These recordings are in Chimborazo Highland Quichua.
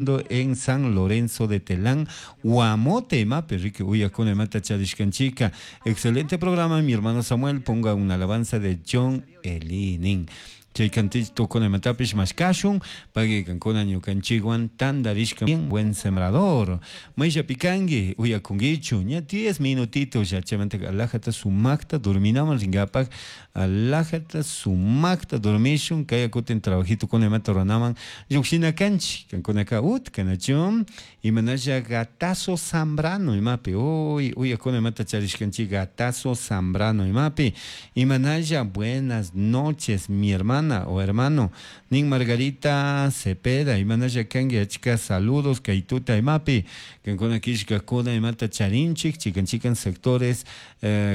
En San Lorenzo de Telán, Guamote, imapi riki uyakuna imata charishkanchika. Excelente programa, mi hermano Samuel, ponga una alabanza de John Elinin. Chay cantito kuna imatapish mashkashun, pagui kankuna ñukanchikwan tandarishka bien buen sembrador. Mayllapi kanki uyakunkichu, ña 10 minutitos ya chaymanta alajata sumakta dorminaman rinkapak, alajata sumakta dormishun, kaya kutin trabajito kuna imata ruranaman llukshina kanchik, kankunaka utka nachu, imanalla gatazo Zambrano imapi, uy uyakuna imata charishkanchik gatazo Zambrano imapi, imanalla buenas noches mi hermana o hermano, nin Margarita Cepeda, imanalla kanki achka saludos kaytuta imapi, kankuna killkakuna imata charinchik, chikan chikan sectores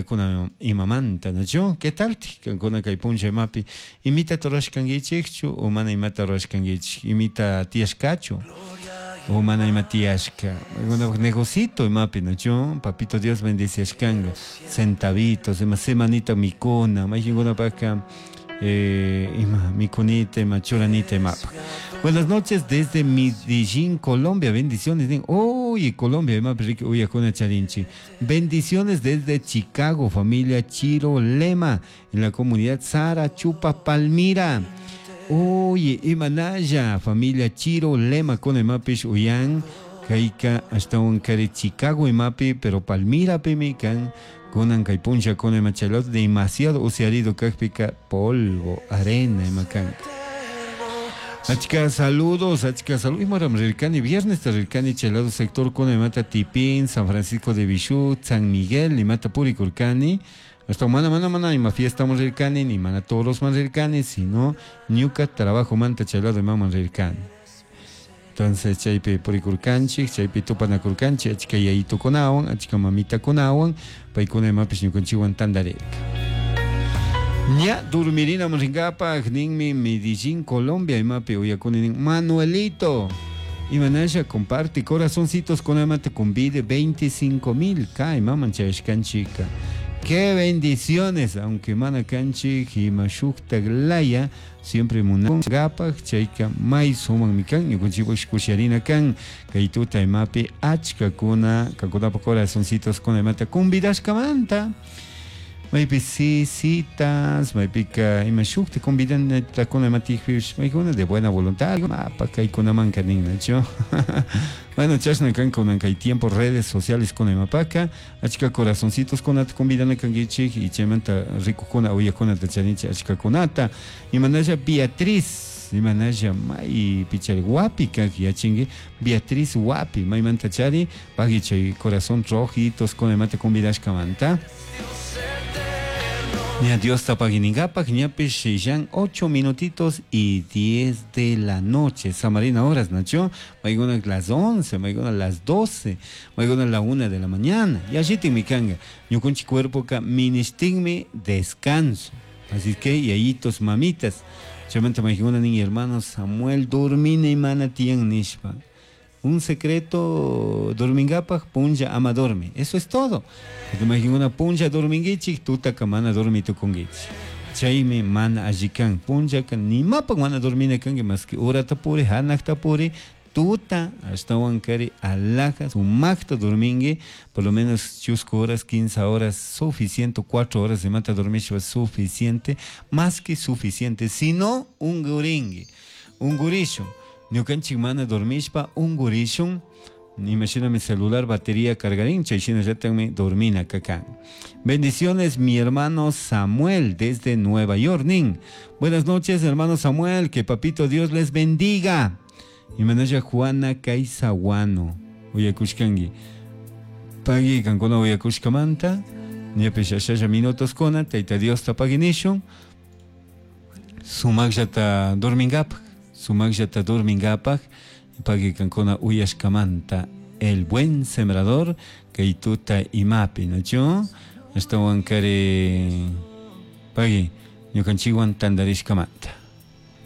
kuna imamanta, nachu, ¿qué tal? Kankuna kay punlla imapi, imita rurashkankichikchu o mana imata rurashkankichik, imita tiyashkachu o mana ima tiyashka, negocito imapi, nachu, papito Dios bendiciashkanga, centavitos, ima semanita mikuna, mayqinkunapaka ima mikunita, ima churanita imapa. Buenas noches desde Medellín, Colombia, bendiciones. Oye, Colombia, imapi riki uyakuna charinchi. Bendiciones desde Chicago, familia Chiro Lema, en la comunidad Sara Chupa Palmira. Oye, imanalla, familia Chiro Lema con imapish uyan, kaika ashtawan kari Chicago imapi, pero Palmira pimi kan kunan kay punlla kuna ima chaylot demasiado usiarido kakpika polvo, arena imakanka. Achka saludos, achka saludos. Imaram rirkani, viernes ta rirkani chaylado sector kuna imata Tipín, San Francisco de Bichú, San Miguel, imata purikurkani. Hasta mana mana mana ima fiesta man rirkani, ni mana toros man rirkani, sino ñuka trabajo manta chaylado ima man rirkani. Entonces chaypi purikurkanchik, chaypi tupanakurkanchik, achka yayitukunawan, achka mamitakunawan, paykuna imapish ñukanchikwan tandarirka. Ña dormirina rinkapak ninmi Medellín, Colombia, imapi uyakuni nin Manuelito. Imanasha comparte corazoncitos con amate convide 25,000 ka imaman chayashkanchika. Qué bendiciones, aunque mana kanchik ima shuktak laya, siempre munangapak chayka may suman mikan, ñukanchikpash kusharina kan, kay tuta imapi achka kuna, kankunapa corazoncitos con imata convidashkamanta. Maypi citas, maypika ima shukta convidanata kuna imatijpish, maykuna de buena voluntad, mapa kaykunamanka nin, nachu. Bueno, chashna kan kunan kay tiempo redes sociales kuna imapaka, achka corazoncitos kunata convidana kankichik, y chaymanta rikukuna uyakunata charinchik achka kunata. Imanalla Beatriz, imanalla may pichari wapi kak yachinki, Beatriz wapi, maymanta chari, pagui chay corazón rojitos kuna imata convidashkamanta. Ña Dios tapaginingapak, ñapish ya 8 minutitos y 10 de la noche. Samarina horas, Nacho. Maigona las 11, maigona las 12, maigona la 1 de la mañana. Y allí te mi kanga. Ñukunchi cuerpo ka ministigme descanso. Así que, yayitos, mamitas. Chamanta maigona ni hermano Samuel, dormine y mana tian nishpa. Un secreto dormingapak punlla ama dormi. Eso es todo. Te imagino una punlla dormingichik, tuta kamana dormi tukungichik. Chaymi mana allikan punlla kan nimapak mana dormina kanki más que hora tapuri, hanak tapuri, tuta ashtawan kari alaja sumakta dormingi, por lo menos chusco horas, 15 horas, suficiente, 4 horas de mata dormishpa suficiente, más que suficiente, si no un guringui, un gurisho. Ñukanchik mana dormishpa ungurishun, imagina mi celular batería cargarín, chayshina llatanmi dormina kakan. Bendiciones mi hermano Samuel desde Nueva York, nin. Buenas noches hermano Samuel, que papito Dios les bendiga. Imanalla Juana Kaisaguano, uyakushkangi. Pagui kankuna uyakushkamanta, ñapish ashalla minutos kona, tayta Dios tapaginishun, sumakllata dormingapak. Sumakllata dormingapak, pagui kankuna uyashkamanta, el buen sembrador, kaytuta imapi, nachu? Ashtawan kari pagui ñukanchikwan tandarishkamanta.